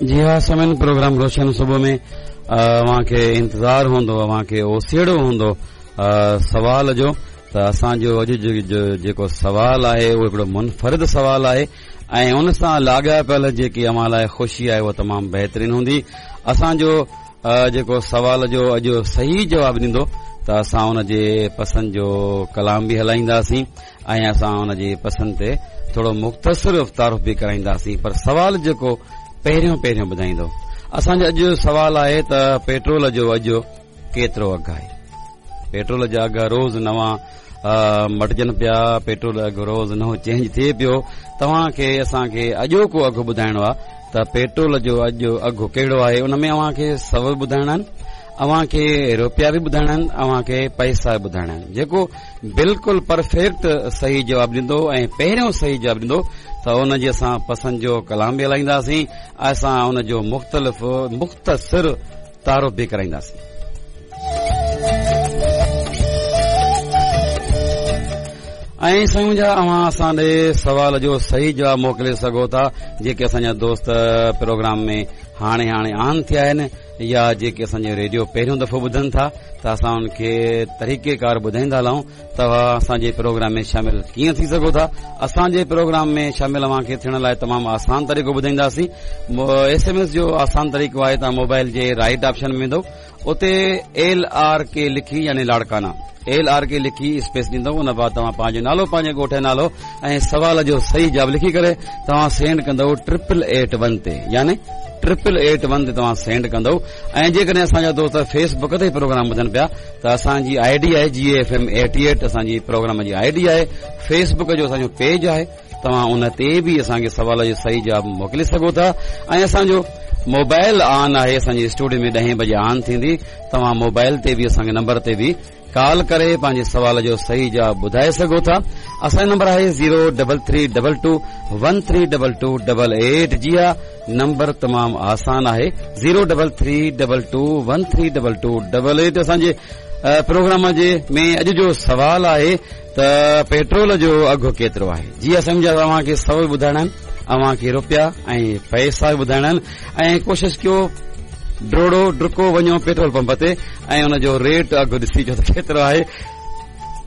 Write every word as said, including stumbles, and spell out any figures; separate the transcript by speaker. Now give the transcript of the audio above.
Speaker 1: जी हा सामीन, प्रोग्राम रोशन सुबह में अव्हां खे इंतज़ार हूंदो, अव्हां खे ओसेड़ो हूंदो सवाल जो। त असांजो अॼु जो जेको सवाल आहे उहो हिकिड़ो मुनफ़रिद सवाल आहे ऐं उन सां लाॻापियल जेकी अव्हां लाइ ख़ुशी आहे उहा तमामु बहितरीन हूंदी। असांजो जेको सवाल जो अॼु सही जवाबु ॾींदो त असां उनजे पसंदि जो कलाम बि हलाईंदासीं ऐं असां उनजी पसंदि ते थोरो मुख़्तसिर तारुफ़ बि कराईंदासीं। पर सवाल जेको पहिरियों पहिरियों ॿुधाईंदो, असांजो अॼु सवाल आहे त पेट्रोल जो अॼु केतिरो अघु आहे? पेट्रोल जा अघ रोज़ नवां मटिजनि पिया, पेट्रोल अघु रोज़ नओं चेंज थिए पियो। तव्हांखे असांखे अॼोको अघु ॿुधाइणो आहे त पेट्रोल जो अॼु अघु कहिड़ो आहे। उन में अव्हांखे सव ॿुधाइणा आहिनि, अव्हांखे रुपया बि ॿुधाइणा आहिनि, अव्हांखे पैसा बि ॿुधाइणा आहिनि। जेको बिल्कुलु परफेक्ट सही जवाबु ॾींदो ऐं पहिरियों सही जवाबु ॾींदो त उनजी असां पसंदि जो कलाम बि हलाईंदासीं, असां उनजो मुख़्तलिफ़ मुख़्तसिर तारुफ़ बि कराईंदासीं। ऐं साईं जा अव्हां असां ॾे सवाल जो सही जवाबु मोकिले सघो था। जेके असांजा दोस्त प्रोग्राम में हाणे हाणे आन थिया आहिनि या जेके असांजो रेडियो पहिरियों दफ़ो ॿुधनि था त असां उनखे तरीक़ेकार ॿुधाईंदा हलूं तव्हां असांजे प्रोग्राम में शामिल कीअं थी सघो था। असांजे प्रोग्राम में शामिल अव्हांखे थियण लाइ तमामु आसान तरीक़ो ॿुधाईंदासीं। एस एम एस जो आसान तरीक़ो आहे, तव्हां मोबाइल जे राइट ऑप्शन में वेंदव, उते एल आर के लिखी यानी लाड़काना एल आर के लिखी स्पेस ॾींदव। उन बाद तव्हां पंहिंजो नालो, पंहिंजे ॻोठ जो नालो ऐं सवाल जो सही जवाबु लिखी करे तव्हां सेंड कंदव ट्रिपल एट वन ते, यानी ट्रिपल एट वन ते तव्हां सेंड कंदव। ऐं जेकॾहिं असांजा दोस्त फेसबुक ते प्रोग्राम ॿुधनि पिया त असांजी I D आहे G F M eighty eight, असांजी प्रोग्राम जी I D आहे, फेसबुक जो असांजो पेज आहे, तव्हां उन ते बि असांखे सवाल जो सही जवाबु मोकिले सघो था। ऐं असांजो मोबाइल ऑन आहे, असांजी स्टूडियो में ॾहें बजे ऑन थींदी, तव्हां मोबाइल ते बि असांखे नंबर ते बि कॉल करे पंहिंजे सवाल जो सही जवाबु ॿुधाए सघो था। असांजो नंबर आहे zero double three double two one three double two double eight. जी हा, नंबर तमामु आसान आहे, zero double three double two one three double two double eight. असांजे प्रोग्राम जे में अॼु जो सवाल आहे त पेट्रोल जो अघु केतिरो आहे? जी हा, सम्झा तव्हांखे सव ॿुधाइणा आहिनि, अव्हांखे रुपया ऐं पैसा बि ॿुधाइणा आहिनि। ऐं कोशिशि कयो ड्रोड़ो ड्रुको वञो पेट्रोल पंप ते ऐं उनजो रेट अघु ॾिसी चो त केतिरो आहे।